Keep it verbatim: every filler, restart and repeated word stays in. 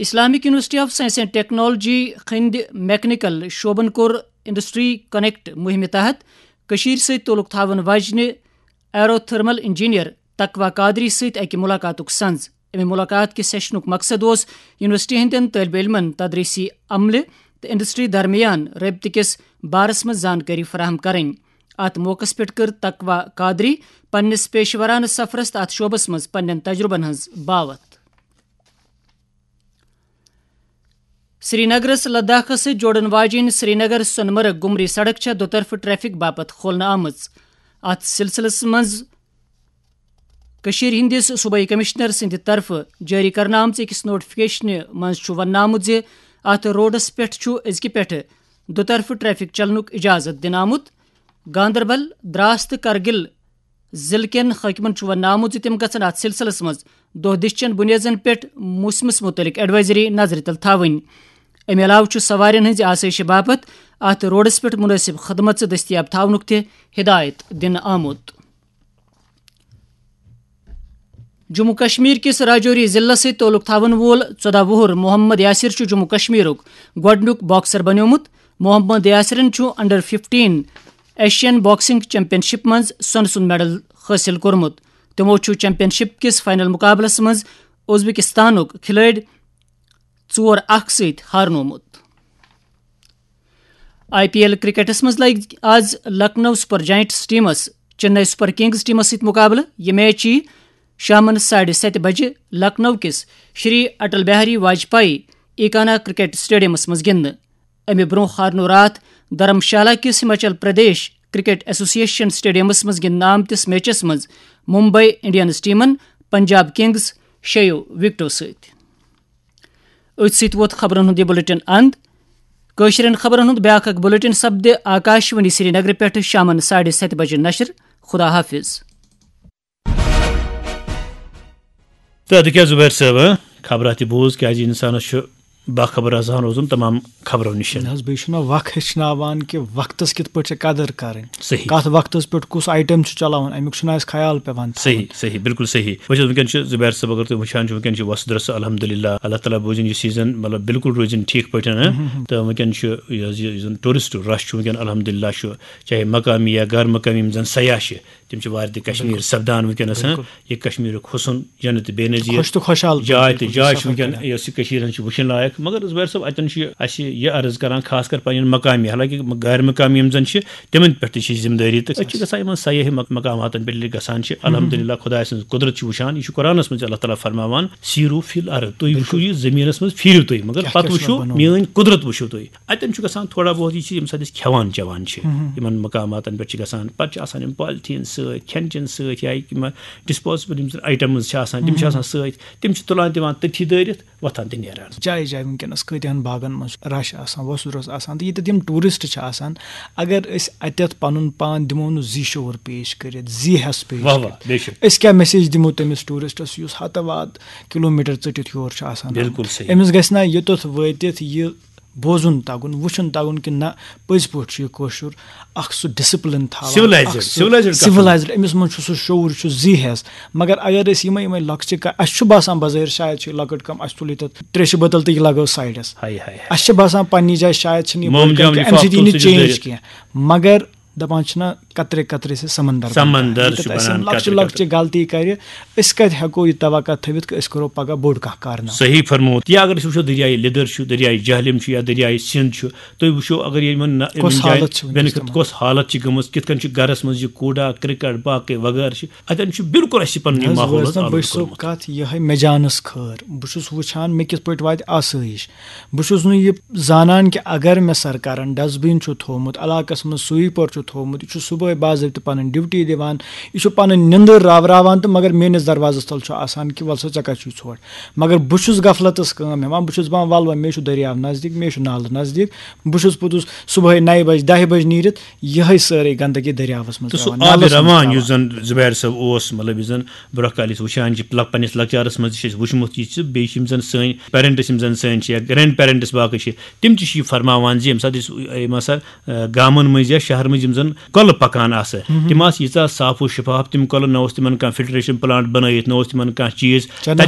Islamic university of science and technology ہٕنٛدِ mechanical شعبن کوٚر انڈسٹری کنیکٹ مُہِمہِ تحت کٔشیٖرِ سۭتۍ تعلق تھاون واجنہِ ایروتھرمل انجینئر تقویٰ قادری سۭتۍ اکہِ ملاقاتُک سنز۔ امہِ ملاقات کہِ سیشنُک مقصد اوس یونیورسٹی ہٕنٛدٮ۪ن طٲلبہِ علمن تدریسی عملہِ تہٕ انڈسٹری درمیان رٲبطہٕ کِس بارس منٛز زانکٲری فراہم کرٕنۍ۔ اتھ موقعس پٮ۪ٹھ کٔر تقویٰ قادری پننِس پیشورانہٕ سفرس تہٕ اتھ شعبس منٛز پننٮ۪ن تجربن ہٕنٛز باوتھ۔ سرینگرس لداخس سۭتۍ جوڑن واجیٚنۍ سرینگر سۄنمرگ گُمری سڑک چھےٚ دُطرفہٕ ٹریفک باپتھ کھولنہٕ آمٕژ۔ اتھ سلسلس منٛز کٔشیٖرِ ہٕنٛدِس صوبٲئی کمشنر سٕنٛدِ طرفہٕ جٲری کرنہٕ آمژِ أکِس نوٹیفکیشنہِ منٛز چھُ وننہٕ آمُت زِ اتھ روڈس پٮ۪ٹھ چھُ أزکہِ پٮ۪ٹھٕ دُطرفہٕ ٹریفک چلنُک اجازت دِنہٕ آمُت۔ گاندربل، دراس تہٕ کرگل ضلعہٕ کٮ۪ن حٲکمن چھُ وننہٕ آمُت زِ تِم گژھن اتھ سلسلس منٛز دۄہ دِش چٮ۪ن بُنیٲدن پٮ۪ٹھ موسمس مُتعلق ایڈوائزری نظرِ تل تھاوٕنۍ۔ امہِ علاوٕ چھُ سوارٮ۪ن ہٕنٛزِ آسٲیشہِ باپتھ اتھ روڈس پٮ۪ٹھ مُنٲسِب خدمژٕ دٔستیاب تھاونُک تہِ ہدایت دِنہٕ آمُت۔ جموں کشمیر کِس راجوری ضلعس سۭتۍ تعلق تھاون وول ژۄداہ وُہُر محمد یاسر چھُ جموں کشمیرُک گۄڈٕنیُک باکسر بنیومُت۔ محمد یاسرن چھُ under fifteen Asian boxing championship منٛز سۄنہٕ سُنٛد میڈل حٲصِل کوٚرمُت۔ تِمو چھُ چیمپین شپ کِس فائنل مقابلس منٛز ازبکستانُک کھلٲڑۍ ژور اکھ سۭتۍ ہارنومُت۔ آئی پی ایل کرکٹس منٛز لگہِ آز لکھنؤ سپر جائنٹس ٹیمس چنئی سپر کنگز ٹیمس سۭتۍ مقابلہٕ۔ یہِ میچ یِیہِ شامن ساڑِ ستہِ بجہِ لکھنؤ کِس شری اٹل بہاری واجپایی ایکانا کرکٹ اسٹیڈیمس منٛز گِنٛدنہٕ۔ امہِ برٛونٛہہ ہارنو راتھ دھرم شالہ کِس ہماچل پردیش کرکٹ ایسوسی ایشن اسٹیڈیمس منٛز گِنٛدنہٕ آمتِس میچس منٛز ممبئی انڈینز ٹیمن پنجاب کنگز شیٚیو وکٹو سۭتۍ۔ أتھۍ سۭتۍ ووت خبرن ہُنٛد یہِ بلیٹن اند۔ کٲشرٮ۪ن خبرن ہُنٛد بیٛاکھ اکھ بلیٹن سپدِ آکاشوانی سرینگرٕ پٮ۪ٹھٕ شامن ساڑِ ستہِ بجہِ نشر۔ خدا حافظ۔ تہٕ اَدٕ کیٛاہ زُبیر صٲب، ہہ؟ خبرا تہِ بوٗز، کیٛازِ اِنسانَس چھُ باخبر آسان روزُن تمام خبرو نِش۔ نہ حظ، بیٚیہِ چھُنہ وق ہیٚچھناوان کہِ وقتَس کِتھ پٲٹھۍ چھِ قدٕر کَرٕنۍ۔ صحیح۔ کَتھ وقتَس پٮ۪ٹھ کُس آیٹم چھُ چلاوُن، اَمیُک چھُنہ اَسہِ خیال پٮ۪وان تھاوُن۔ صحیح، صحیح، بِلکُل صحیح۔ وٕچھ حظ، وٕنکیٚن چھُ زُبیر صٲب، اگر تُہۍ وٕچھان چھِو، وٕنکیٚن چھِ وۄستہٕ درسہٕ، الحمدللہ، اللہ تعالیٰ بوٗزِن یہِ سیٖزن، مطلب، بِلکُل روٗزِن ٹھیٖک پٲٹھۍ، ہہ؟ مہم۔ تہٕ وٕنکیٚن چھُ یہِ حظ یہِ، یُس زَن ٹوٗرِسٹ رش چھُ وٕنکیٚن، الحمدللہ، چھُ چاہے مقامی یا غیر مقامی یِم زَن سیاح چھِ، تِم چھِ وارِ تہِ کشمیر بِلکُل۔ سپدان وٕنکیٚنَس، ہہ؟ بِلکُل۔ یہِ کشمیرُک حُسن، جنت بے نظیر۔ خۄش تہٕ خۄشحال جاے تہٕ بِلکُل جاے چھِ سفر وٕنکیٚن، کران۔ یۄس یہِ کٔشیٖر ہٕنٛز چھِ وٕچھِنۍ لایق۔ مگر زُبیر صٲب، اَتٮ۪ن چھُ یہِ اَسہِ یہِ عرض کران، خاص کر پنٕنٮ۪ن مقامی، حالانکہ غیر مقامی یِم زَن چھِ، تِمن پٮ۪ٹھ تہِ چھِ ذمہٕ دٲری۔ تہٕ أسۍ چھِ گژھان یِمن سیاحی مق-، مقاماتن پٮ۪ٹھ ییٚلہِ گژھان چھِ، الحمدللہ، خۄداے سٕنٛز قدرت چھِ وٕچھان۔ یہِ چھُ قرآنس منٛز اللہ تعالیٰ فرماوان، "سیٖرو فی الارض"، تُہۍ وٕچھِو بِلکُل۔ یہِ زٔمیٖنس منٛز، پھیٖرِو تُہۍ، مگر کیٛاہ پتہٕ کیٛاہ چھُ وٕچھِو مےٚ بنومُت؟ میٲنۍ قدرت وٕچھِو تُہۍ۔ اَتٮ۪ن چھُ گژھان تھوڑا بہت یہِ چیٖز، ییٚمہِ ساتہٕ أسۍ کھٮ۪وان چٮ۪وان چھِ، ہُم، ہُم۔ یِمَن مقاماتَن پٮ۪ٹھ چھِ گژھان، پَتہٕ چھِ آسان یِم پالتھیٖن سۭتۍ، کھٮ۪ن چٮ۪ن سۭتۍ، یا یِم ڈِسپوزیبٕل یِم زَن آیٹمٕز چھِ آسان، تِم چھِ ہُم، ہُم۔ آسان سۭتۍ، تِم چھِ تُلان دِوان تٔتھی دٲرِتھ، وۄتھان تہٕ نیران۔ جایہِ جایہِ وٕنکیٚنَس کۭتِہَن باغَن منٛز چھُ رَش آسان، وۄسُر اوس آسان، تہٕ ییٚتٮ۪تھ یِم ٹوٗرِسٹ چھِ آسان، اگر أسۍ اَتٮ۪تھ پَنُن پان دِمو نہٕ زی شعوٗر پیش کٔرِتھ، زی ہٮ۪س پیش واہ واہ، کٔرِتھ، بے شک۔ أسۍ کیٛاہ میسیج دِمو تٔمِس ٹوٗرِسٹَس یُس ہَتہٕ واد کِلوٗمیٖٹر ژٔٹِتھ یور چھُ آسان آمُت؟ بِلکُل صحیح۔ أمِس گژھِ نہ یوٚتَتھ وٲتِتھ یہِ بوزُن تَگُن، وٕچھُن تَگُن کہِ نہ، پٔزۍ پٲٹھۍ چھُ یہِ کٲشُر اکھ سُہ ڈسپلن تھاوان، سِولایزٕڈ، اکھ سُہ سِولایزٕڈ کانٛہہ۔ سِولایزٕڈ، أمِس منٛز چھُ سُہ شعوٗر، یہِ چھُ زی ہٮ۪س۔ مگر اگر أسۍ یِمے یِمے لۄکچہِ کا-، اَسہِ چھُ باسان بظٲہِر شاید چھِ یہِ لۄکٕٹ کٲم، اَسہِ تُل ییٚتٮ۪تھ تریشہِ بٲتل تہٕ یہِ لگٲو سایڈس۔ ہاے، ہاے، ہاے۔ اَسہِ چھِ باسان پننہِ جایہِ شاید چھِنہٕ یہِ موم بٔڑ کٲم، جام اَمہِ سۭتۍ لِفاف یی تُل نہٕ سُہ چھُ change دٲرِتھ۔ کینٛہہ۔ مگر دپان چھِنہ، قطرے قطرے سے سمندر بنتا ہے۔ سمندر ییٚتٮ۪تھ چھُ اَسہِ یِم بنان لۄکچہِ قطرے لۄکچہِ قطرے۔ غلطی کرِ، أسۍ کتہِ ہٮ۪کو یہِ توقع تھٲوِتھ کہِ أسۍ کرو پگاہ بوٚڑ کانٛہہ کارنامہٕ؟ صحیح فرمووُتھ۔ یا اگر أسۍ وٕچھو، دٔریاے لیٚدٕر چھُ، دٔریاے جہلِم چھُ یا دٔریاے سِنٛد چھُ، تُہۍ وٕچھو اگر یِمن نہ-، یِمن کۄس جاین حالت چھِ وٕنکیٚس بینِفِٹ، تِمن؟ کۄس حالت چھِ گٔمٕژ، کِتھ کٔنۍ چھِ گرس منٛز یہِ کوٗڑا، کرکٹ، باقٕے وغٲرٕ چھِ، اتٮ۪ن چھُ بالکل اَسہِ پنُن یہِ نہ حظ، ماحول وٲژ حظ نہ آلوٗدٕ بٔچھ صٲب کوٚرمُت۔ کتھ یِہے مےٚ جانس خٲر۔ بہٕ چھُس وٕچھان مےٚ کِتھ پٲٹھۍ واتہِ آسٲیِش۔ بہٕ چھُس نہٕ یہِ زانان کہِ اگر مےٚ سرکارن ڈسٹبن چھُ تھوومُت، علاقس منٛز sweeper چھُ تھوومُت، یہِ چھُ صبحٲے باضٲبطہٕ پنٕنۍ duty دِوان، یہِ چھُ پنٕنۍ نِندٕر راوراوان تہٕ مگر میٲنِس دروازس تل چھُ آسان کہِ وَل سا ژےٚ کَتہِ چھُے ژھۄٹھ۔ مگر بہٕ چھُس غفلتس کٲم ہٮ۪وان، بہٕ چھُس دپان وَل وۄنۍ مےٚ چھُ دٔریاو نزدیٖک، مےٚ چھُ نالہٕ نزدیٖک، بہٕ چھُس پوٚتُس صبحٲے نَیہِ بجہِ، دَہہِ بجہِ نیٖرِتھ یِہے سٲرٕے گندگی دٔریاوس منٛز تہٕ سُہ ترٛاوان، آبِ نالس منٛز روان ترٛاوان۔ یُس زن زُبیر صٲب اوس، مطلب، یُس زن برونٛہہ کالہِ أسۍ وٕچھان چھِ، لۄک-، پننِس لۄکچارس منٛز تہِ چھِ أسۍ وٕچھمُت یہِ، چھِ بیٚیہِ چھِ یِم زن سٲنۍ parents، یِم زن سٲنۍ چھِ یا grandparents باقٕے چھِ، تِم تہِ چھِ یہِ فرماوان زِ ییٚمہِ ساتہٕ أسۍ، یِم ہسا، آ، گامن منٛز یا شہرن منٛز یِم زن کۄلہٕ پکان آسہٕ، مہم۔ تِم آسہٕ ییٖژاہ صاف و شفاف تِم کۄلہٕ، نہ اوس تِمن کانٛہہ filtration plant بنٲیِتھ، نہ اوس تِمن کانٛہہ چیٖز۔ چنس تتٮ۪ن